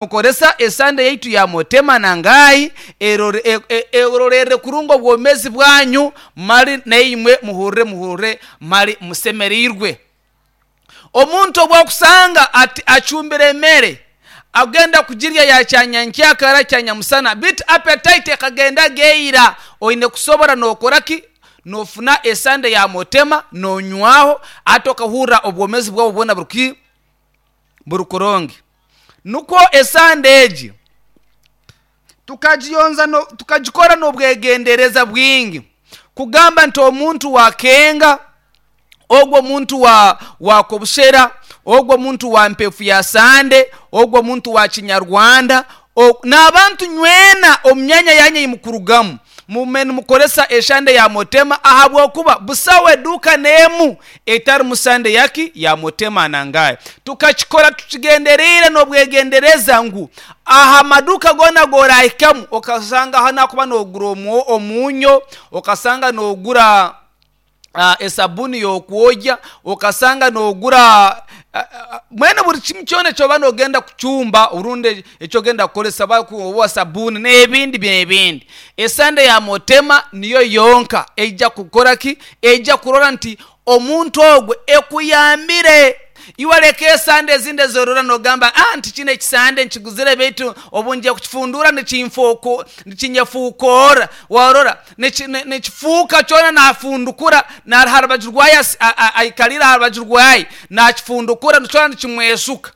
Mukoresa esande yaitu ya Motema na Ngai erorerere kurungi obwomezi bwanyu mali naimwe muhurire muhurire mali musemereirwe. Omuntu obu akusanga ati acumbire emere agenda kugirya ya kyanyankyakara kyanyamusana beitu appetite ekagenda geira oine kusobora nokora ki? Nofuna esande ya Motema nonywaho ati okahurra obwomezi bwawe bwona buri ki? Buri kurungi. Nukwo esande egi tukagiyonza no, tukagikora n'obwegendereza bwingi kugamba nti omuntu wa Kenga, ogwo omuntu wa wa Kobushera, ogwo omuntu wa Mpefu ya Sande, ogwo omuntu wa Kinyarwanda, o, n'abantu nywena omu myanya yanyu ei mukurugamu, Mugume nimukoresa eshande ya Motema ahabw'okuba busaho eduuka n'emu etarimu sande yaki ya Motema Nangayi. Tukakikora tukigendereire n'obwegendereza ngu aha maduuka goona ag'orahikamu okashanga ahu nakuba nogura omunyo, okasanga nogura esabuni y'okwogya, okasanga noogura mbwenu buri kimwe kyona eki orikuba noogenda kucumba orundi eki orikugenda kukoresa oba sabuuni n'ebindi n'ebindi. Esande ya Motema niyo yonka eija kukora ki? Eija kurora nti omuntu ogwo ekuyambire. Iwe reka esande ezindi ezi orora nogamba ah nti kinu ekisande nkiguzire beitu obu ngiye kukifunduura nikinyefuukoora. Warora? Nikifuuka kyona naafundukura, naari aha rubaju rwayo aikariire aha rubaju rwayo, naakifundukura kyona nikimweshuka.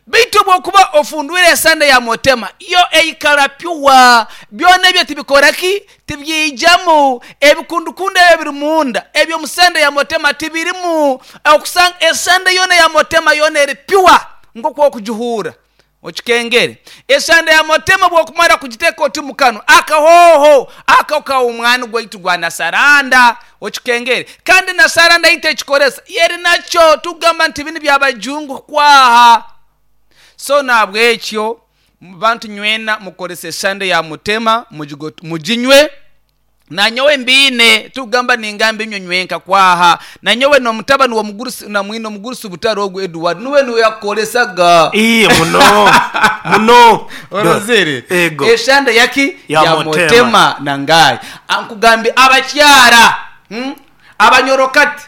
Beitu obu orikuba ofundwire esande ya Motema, yo eikara pure, byona ebyo tibikora ki? Tibyijamu. Ebikundukundu ebi ebiri munda eby'omu sande ya Motema tibirimu. Okusanga esande yoona eya Motema yoona eri pure nk'oku orikugihuura. Okikengere. Esande ya Motema obu okumara kugiteeka oti mu kanwa, akahooho ako ka omwani gwaitu gwa Nasaranda. Okikengere. Kandi Nasaranda ei tekikoresa, eri nakyo. Tikugamba nti binu bya bajungu kwaha. So nahabwekyo bantu nywena mukorese esande ya Mutema, muginywe. Nanyowe mbiine, tikugamba ningamba inywe nywenka kwaha. Nanyowe n'omutabani w'omugurusi, na mwine omugurusi butare ogu Edward, nuwe niwe yakukoresaga. Ii, muno, muno. Orozire? Ego. Eshande yaki? Ya Ya Mutema. Mutema na Ngai. Ankugambye abakyara, hmm, abanyorokati.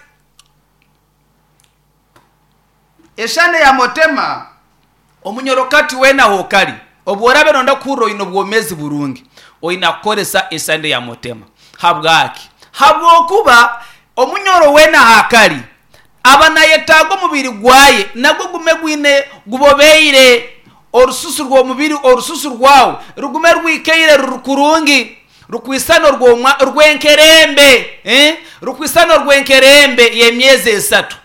Eshande ya Mutema, omunyorokati weena ah'okari, obu oraabe nooyenda kuhurira oine obwomeezi burungi, oine kukoresa esande ya Mutema. Habwaki? Habw'okuba omunyoro weena ah'akari aba naayetaaga omubiri gwaye nagwo gume gwine gubobeire, orususu rw'omubiri, orususu rwawe rugume rwikaire ruri kurungi, rukwisana orw'enkerembe, rukwisana orw'enkerembe y'emyezi esatu.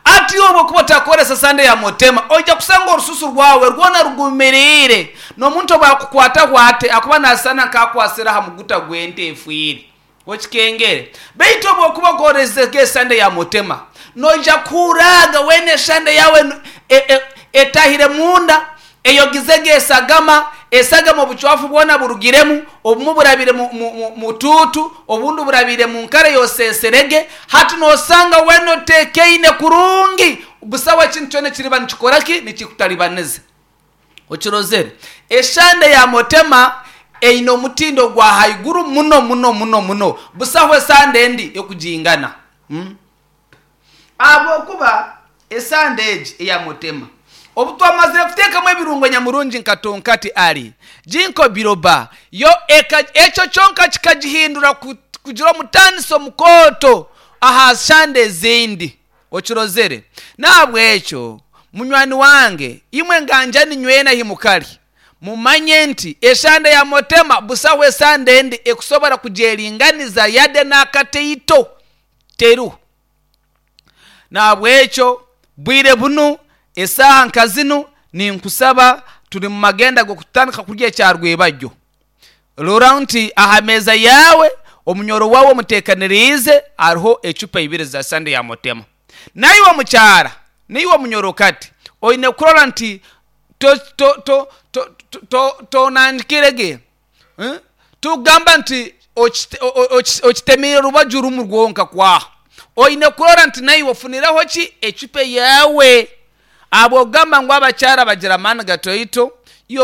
Ati obu okuba otakoresa sande ya Mutema, oija kusanga orususu rwawe rwona rugumiriire. N'omuntu obu akukwataho ati, akuba nasisana nk'akwasire aha muguta gw'ente efiire. Okikengere. Beitu obu okuba okoresege esande ya Mutema, noija kuhurraga weena esande yawe etahire munda, Eyogizege esagama, esagama obucwafu bwona burugiremu, obumu burabire mu tuutu, obundi burabire mu nkara ey'oseeserege. Hati noosanga weena oteekaine kurungi, busaho ekintu kyona ekiriba nikikora ki? Nikikutalibaniza. Okirozere? Eshande ya Motema eine omutindo gwa haiguru muno muno muno muno. Busaho esande endi ekugingana. Ahabw'okuba esande egi eya Mutema, obu twamazire kuteekamu ebirungo nyamurungi nka tonkati ari, ginkgo biloba, yo eka, ekyo kyonka kikagihindura kugira omutaaniso mukooto aha shande ezindi. Okirozere? N'ahabw'ekyo, munywani wange, imwe nganjani nywena ahi mukari, mumanye nti eshande ya Mutema busaho esande endi ekusobora kugyeringaniza yade n'akateito. Teriho. Nahabwekyo bwire bunu, esaaha nka zinu, ninkusaba, turi mu magenda g'okutandika kurya ekya rwebagyo. Rora nti aha meeza yaawe, omunyoro waawe omuteekaniriize, hariho ecupa ibiri za sande ya Mutema. Naiwe mukyara, naiwe munyorokati, oine kurora nti to, to, to, to, to, tonangikire ge. Tikugamba nti okitemeire rubaju rumu rwonka kwaha. Oine kurora nti naiwe ofunireho ki? Ecupa eyaawe. Ahabw'okugamba ngu abakyara bagira amaani gatoito.